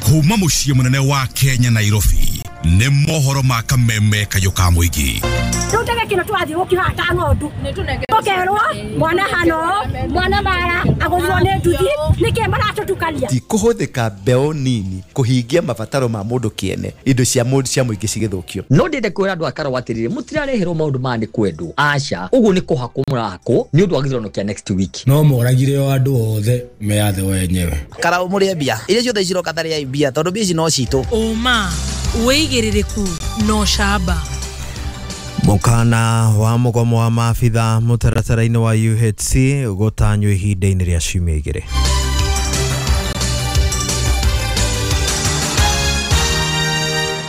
Kuma muciĩ mũnene wa Kenya Nairobi nĩ mohoro ma kameme kayũ ka mũingĩ. Rĩu tege kĩno tũrathiĩ gũkĩhaha ta ng'ondu tũkerwo mwana hano mwana mara agũthirwo nĩ nduthi nĩkĩ maratũtukania. Ti kũhũthĩka mbeũ nini kũhingia mabataro ma mũndũ kĩene indo cia mũndũ cia mũingĩ cigĩthũkio. No ndĩende kwĩra andũ a Karau atĩrĩrĩ, mũtirareherwo maũndũ maya nĩ kwendwo, aca, ũguo nĩ kũhakwo mũrahakwo nĩ ũndũ wa gĩthurano kĩa next week. No moragire o andũ othe meyathe wenyewe. Karau mũrĩe mbia iria ciothe ciroka tarĩai mbia tondũ mbia ici no citũ. Ũma wĩigĩrĩrĩku no camba. Mũkana wa mũgomo wa maabitha mũtaratara-inĩ wa UHC gũtanywo ihinda-inĩ rĩa ciumia igĩrĩ.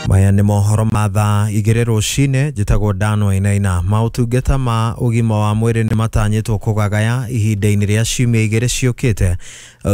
Maya nĩ mohoro ma thaa igĩrĩ rũcinĩ. Njĩtagwo Dan Wainaina. Maũtungata ma ũgima wa mwĩrĩ nĩ matanyĩtwo kũgagaya ihinda-inĩ rĩa ciumia igĩrĩ ciũkĩte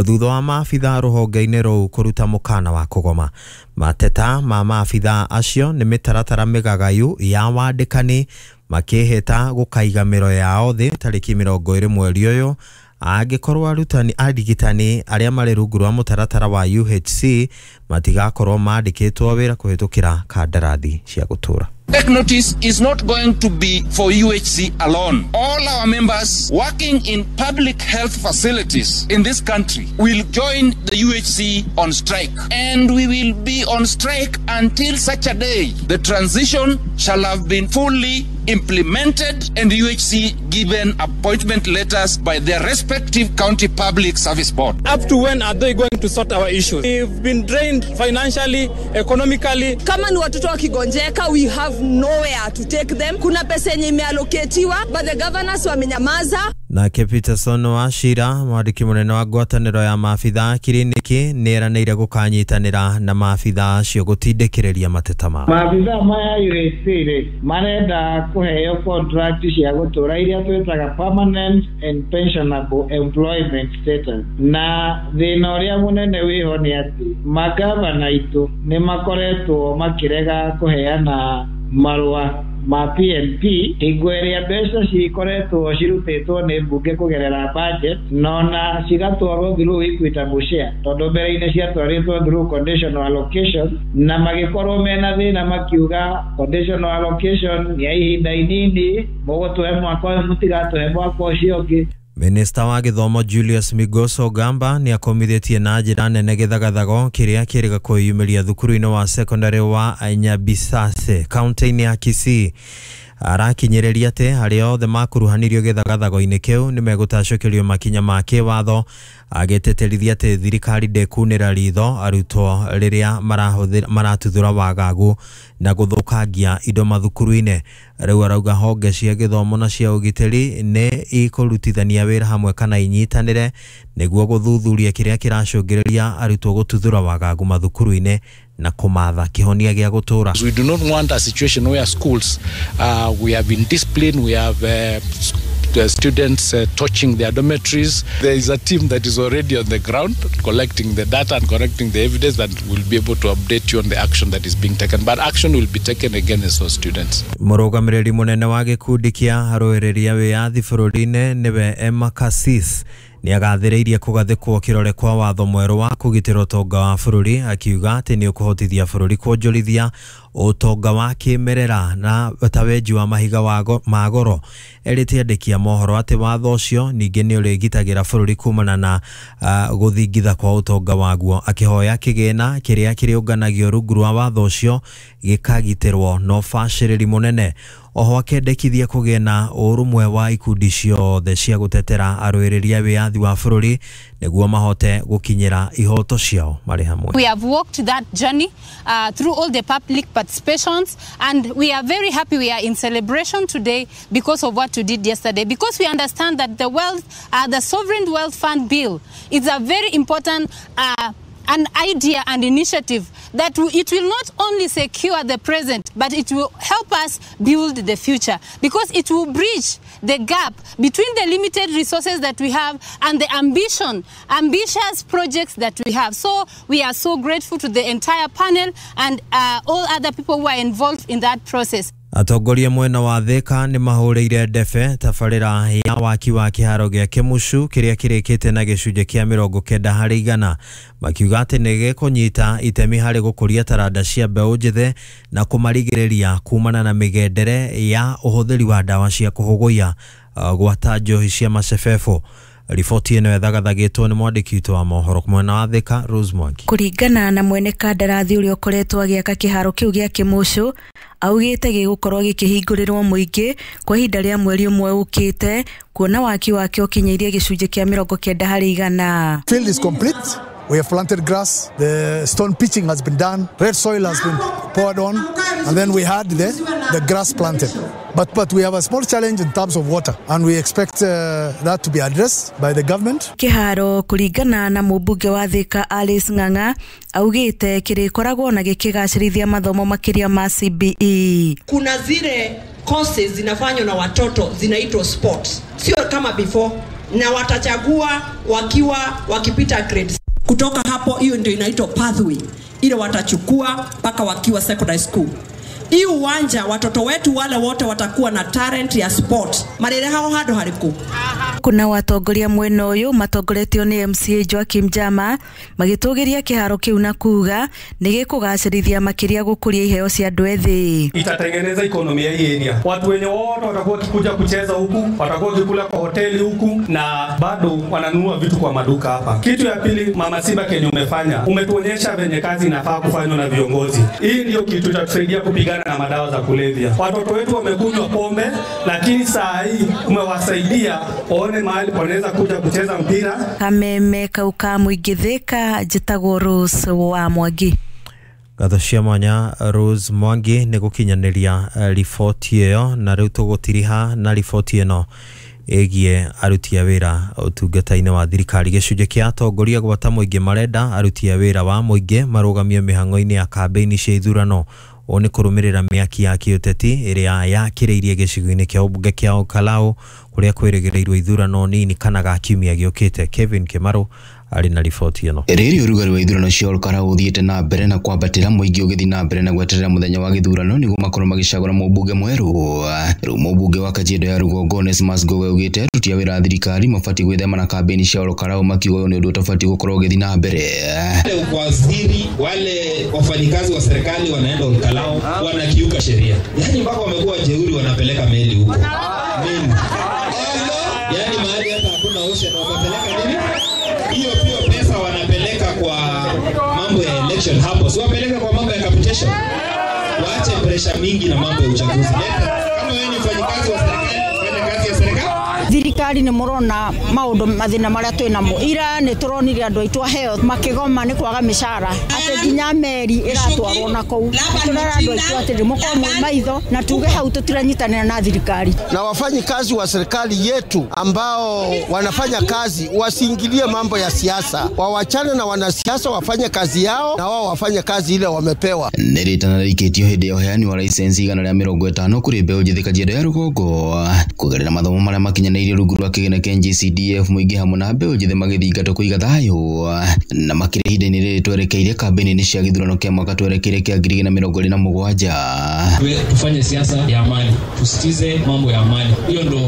thutha wa maabitha rũhonge-inĩ rũu kũruta mũkana wa kũgoma. Mateta ma maabitha acio nĩ mĩtaratara mĩgagayu ya wandĩkani makĩhĩta gũkaiga mĩro yao thĩ tarĩki 20 mweri ũyũ angĩkorwo arutani arigitani arĩa marĩ rungu rwa mũtaratara wa UHC matigakorwo mandĩkĩtwo wĩra kũhĩtũkĩra kandarathi cia gũtũra. Take notice is not going to be for UHC alone. All our members working in public health facilities in this country will join the UHC on strike. And we will be on strike until such a day the transition shall have been fully implemented and UHC given appointment letters by their respective county public service board. Up to when are they going to sort our issues? We've been drained financially, economically. Kama ni watoto wakigonjeka, we have nowhere to take them. Kuna pesa yenye imeallocatiwa but the governors wamenyamaza. Nake Peterson Wachira mwandĩki mũnene wa ngwatanĩro ya maabitha kiriniki nĩ eranĩire gũkanyitanĩra na maabitha acio gũtindĩkĩrĩria mateta mao. Maabitha maya UHC rĩ marenda kũheo contract cia gũtũra iria twĩtaga permanent and pensionable employment status, na thĩna ũrĩa mũnene wĩho nĩ atĩ magavana aitũ nĩ makoretwo makĩrega kũheana marũa ma PNP hingo ĩrĩa mbeca cikoretwo cirutĩtwo nĩ mbunge kũgerera budget nona cigatwarwo through equitable share tondũ mbere-inĩ ciatwarĩtwo through conditional allocation na magĩkorwo mena thĩna makiuga conditional allocation nĩ ya ihinda inini, mũgũtũhe mwaka ũyũ mũtigatũhe mwaka ũcio ũngĩ. Minista wa gĩthomo Julius Migos Ogamba nĩ akomithĩtie na njĩra nene gĩthagathago kĩrĩa kĩrĩga kwĩyumĩria thukuru-inĩ wa secondary wa Nyabisase kaunti-inĩ ya Kisii. Arakinyĩrĩria atĩ arĩa othe makuruhanirio gĩthagathago-inĩ kĩu nĩ megũtacũkĩrio makinya ma kĩwatho, agĩtĩtĩrithia atĩ thirikari ndĩkunĩra ritho arutwo rĩrĩa maratuthũra wagagu na gũthũkangia indo mathukuru-inĩ. Rĩu arauga honge cia gĩthomo na cia ũgitĩri nĩ ikũrutithania wĩra hamwe kana inyitanĩre nĩguo gũthuthuria kĩrĩa kĩracũngĩrĩria arutwo gũtuthũra wagagu mathukuru-inĩ na kũmatha kĩhonia gĩa gũtũra. We do not want a situation where schools we have indiscipline, we have the students touching their dormitories. There is a team that is already on the ground collecting the data and collecting the evidence that will be able to update you on the action that is being taken. But action will be taken against those students. Mũrũgamĩrĩri mũnene wa gĩkundi kĩa arũĩrĩri a wĩyathi bũrũri-inĩ nĩwe Emma Cassis nĩ agathĩrĩirie kũgathĩkwo kĩrore kwa watho mwerũ wa kũgitĩra ũtonga wa bũrũri, akiuga atĩ nĩ ũkũhotithia bũrũri kwonjorithia ũtonga wa kĩmerera na ta wenji wa mahiga ma goro. Erĩte andĩki a mohoro atĩ watho ũcio ningĩ nĩ ũrĩgitagĩra bũrũri kumana na gũthingitha kwa ũtonga waguo, akĩhoya kĩgĩna kĩrĩa kĩrĩũnganagio rungu rwa watho ũcio gĩkagitĩrwo na ũbacĩrĩri mũnene. Oho akendekithia kũgĩe na ũrũmwe wa ikundi ciothe cia gũtetera arũĩrĩri a wĩyathi wa bũrũri nĩguo mahote gũkinyĩra ihoto ciao marĩ hamwe. We have walked that journey through all the public participations, and we are very happy we are in celebration today because of what we did yesterday, because we understand that the wealth, the Sovereign Wealth Fund Bill is a very important an idea and initiative that it will not only secure the present, but it will help us build the future, because it will bridge the gap between the limited resources that we have and the ambitious projects that we have. So we are so grateful to the entire panel and all other people who are involved in that process. Atongoria mwena wa Thika nĩ mahũrĩire ndebe tabarĩra ya waki wa kĩharo gĩa Kĩmucu kĩrĩa kĩrĩkĩte na gĩcunjĩ kĩa 90% makiuga atĩ nĩ gĩkũnyita itemi harĩ gũkũria taranda cia mbeũ njĩthĩ na kũmarigĩrĩria kumana na mĩgendere ya ũhũthĩri wa ndawa cia kũhũgũia gwata njohi cia macebebo. Riboti ĩno ĩthagathagĩtwo nĩ mwandĩki witũ wa mohoro mwena wa Thika Rose Mwangi. Kũringana na mwene kandarathi ũrĩa ũkoretwo agĩaka kĩharo kĩu gĩa Kĩmucu, augĩte gĩgũkorwo gĩkĩhingũrĩrwo mũingĩ kwa ihinda rĩa mweri ũmwe ũkĩte, kuona waki wake ũkinyĩirie gĩcunjĩ kĩa 90%. Field is complete. We have planted grass, the stone pitching has been done, red soil has been poured on, and then we had the grass planted. But we have a small challenge in terms of water, and we expect that to be addressed by the government. Kĩharo kũringana na mũmbunge wa Thika Alice Ng'ang'a augĩte kĩrĩkoragwo na gĩkĩgacĩrithia mathomo makĩria ma CBE. Kuna zile courses zinafanywa na watoto zinaitwa sports, sio kama before, na watachagua wakiwa wakipita grades. Kutoka hapo, hiyo ndio inaitwa pathway ile watachukua mpaka wakiwa secondary school. Hii uwanja watoto wetu wale wote watakuwa na talent ya sport marere hao hado hariku. Kuna watongoria mwena uyu matongoretio ni MCA Joakim Jama magitugiria kiharo kiu na kuga ni gikugacirithia makiria gukuria iheo cia andu ethi. Itatengeneza ekonomi ya hii area. Watu wenye wote watakuwa kikuja kucheza huku, watakuwa kikula kwa hoteli huku na bado wananunua vitu kwa maduka hapa. Kitu ya pili, Mama Simba kenye umefanya, umetuonyesha venye kazi inafaa kufanywa na viongozi. Hii ndio kitu itatusaidia kupigana na madawa za kulevya. Watoto wetu wamekunywa pombe, lakini saa hii umewasaidia waone mahali wanaweza kuja kucheza mpira. Kameme kauka muingi Thika, njĩtagwo Rose wa Mwangi. Ngatho cia mwanya Rose Mwangi nĩ gũkinyanĩria riboti ĩyo, na rĩu tũgũtiriha na riboti ĩno ĩgiĩ aruti a wĩra ũtungata-inĩ wa thirikari. Gĩcunjĩ kĩa atongoria gwata mũingĩ marenda aruti a wĩra wa mũingĩ marũgamio mĩhang'o-inĩ ya kambĩini cia ithurano. Ũũ nĩ kũrũmĩrĩra mĩaki ya kĩũteti ĩrĩa yakĩrĩirie gĩcigo-inĩ kĩa ũmbunge kĩa Olkalau kũrĩa kwĩrĩgĩrĩirwo ithurano nini kana ga kiumia gĩũkĩte. Kevin Kĩmarũ arĩ na riboti ĩno. Rĩrĩ ũrugarĩ wa ithurano cia Olkalau ũthiĩte na mbere na kwambatĩra, mũingĩ ũgĩthiĩ na mbere na gweterera mũthenya wa gĩthurano nĩguo makorwo magĩcagũra mũmbunge mwerũ. Rĩu mũmbunge wa Kajiado ya Rũgongo Onesmus Ngowe augĩte aruti a wĩra a thirikari mabatiĩ gwĩthema na kambĩini cia Olkalau, makiuga ũyũ nĩ ũndũ ũtabatiĩ gũkorwo ũgĩthiĩ na mbere. Waziri wale wafanyikazi wa serikali wanaenda Olkalau wanakiuka sheria, yaani mpaka wamekuwa jeuri, wanapeleka meli huko. Meli. Yaani mahali hata hakuna ocean wanapeleka nini? Hiyo pia pesa wanapeleka kwa mambo ya election hapo. Si wapeleka kwa mambo ya capitation. Waache pressure mingi na mambo ya uchaguzi. Kama wewe ni mfanyikazi wa serikali, fanya kazi ya serikali. Thirikari nĩ mũrona maũndũ mathĩna marĩa twĩ namo. Ira nĩ tũronire andũ aitũ a health makĩgoma nĩ kwaga mĩcara, atĩ nginya meri ĩratwarwo na kũu. Tũrera andũ aitũ atĩrĩ mũkorwo mwĩ maitho na tuge hau tũtiranyitanĩra na thirikari. Na wafanyikazi wa serikali yetu ambao wanafanya kazi wasiingilie mambo ya siasa, wawachane na wanasiasa, wafanye kazi yao na wao wafanye kazi ile wamepewa. Nĩ rĩtana rĩikĩtio hĩndĩ ya ũheani wa license 150 kũrĩ mbeũ njĩthĩ Kajiado ya Rũgongo kũgerera mathomo marĩa makinyanĩirie rungu rwa kĩgĩna kĩa NGCDF, mũingĩ hamwe na mbeũ njĩthĩ magĩthingatwo kũiga thayũ na makĩria ihinda-inĩ rĩrĩ twerekeire kambĩini cia gĩthurano kĩa mwaka twerekeire kĩa 2027. Tufanye siasa ya amani, tusitize mambo ya amani. Hiyo ndo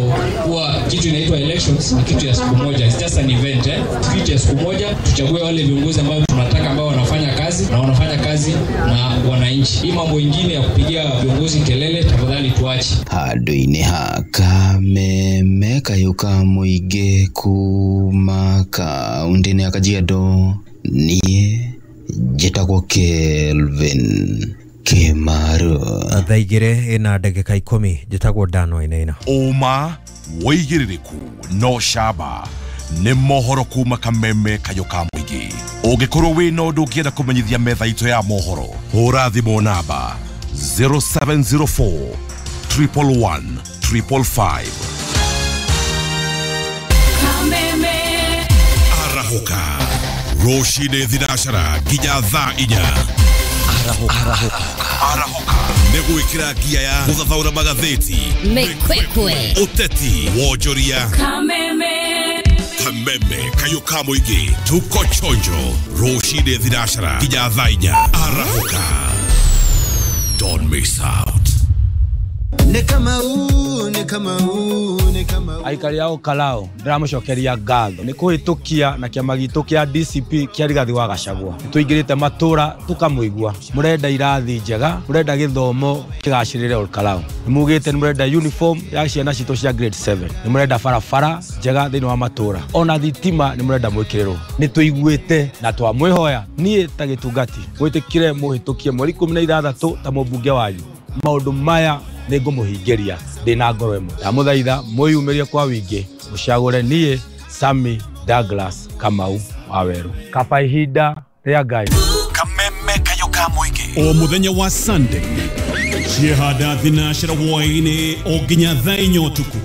huwa kitu inaitwa elections, ni kitu ya siku moja, it's just an event, Kitu ya siku moja, tuchague wale viongozi ambao tunataka, ambao wanafanya kazi na wanafanya kazi na wananchi. Hii mambo ingine ya kupigia viongozi kelele tafadhali tuache. Handũ-inĩ ha Kameme kayũ ka mũingĩ kuma kaũntĩ-inĩ ya Kajiado, niĩ njĩtagwo Kelvin Kĩmarũ. Thaa igĩrĩ ĩna ndagĩka 10, njĩtagwo Dan Wainaina. Ũma wĩigĩrĩrĩku no camba nĩ mohoro kuma Kameme kayũ ka mũingĩ. Ũngĩkorwo wĩna ũndũ ũngĩenda kũmenyithia metha itũ ya mohoro, hũra thimũ namba 0704 111 555. Kameme Arahoka rũcinĩ thinacara nginya thaa 4. Arahoka nĩ gwĩkĩra ngia ya gũthathaũra magathĩti, Mĩkwekwe, ũteti, wonjoria. Kameme Kameme kayũ ka mũingĩ, tuko chonjo rũcinĩ thinacara nginya thaa 4. Arahoka, don't miss out. Nĩ Kamau, nĩ Kamau, nĩ Kamau. Aikari a Olkalou ndĩramũcokeria ngatho nĩ kũhĩtũkia na kĩama gitũ kĩa DCP kĩa Rigathi wa Gachagua. Nĩ tũingĩrĩte matũra tũkamũigua, mũrenda irathi njega, mũrenda gĩthomo kĩgacĩrĩre Olkalou, nĩ mugĩte nĩ mũrenda uniform ya ciana citũ cia grade 7, nĩ mũrenda barabara njega thĩinĩ wa matũra, ona thitima nĩ mũrenda mwĩkĩrĩrwo. Nĩ tũiguĩte na twamwĩhoya niĩ ta gĩtungati mwĩtĩkire mũhĩtũkie mweri 16 ta mũmbunge wanyu. Maũndũ maya nĩ ngũmũhingĩria ndĩ na ngoro ĩmwe. Ndamũthaitha mwĩyumĩrie kwa wingĩ mũcagũre niĩ Sammy Douglas Kamau Waweru. Kaba ihinda rĩa Ngai. Kameme kayo ka mũingĩ o mũthenya wa Sunday ciehanda thinacera hwaĩ-inĩ o nginya thaa 4 ũtukũ.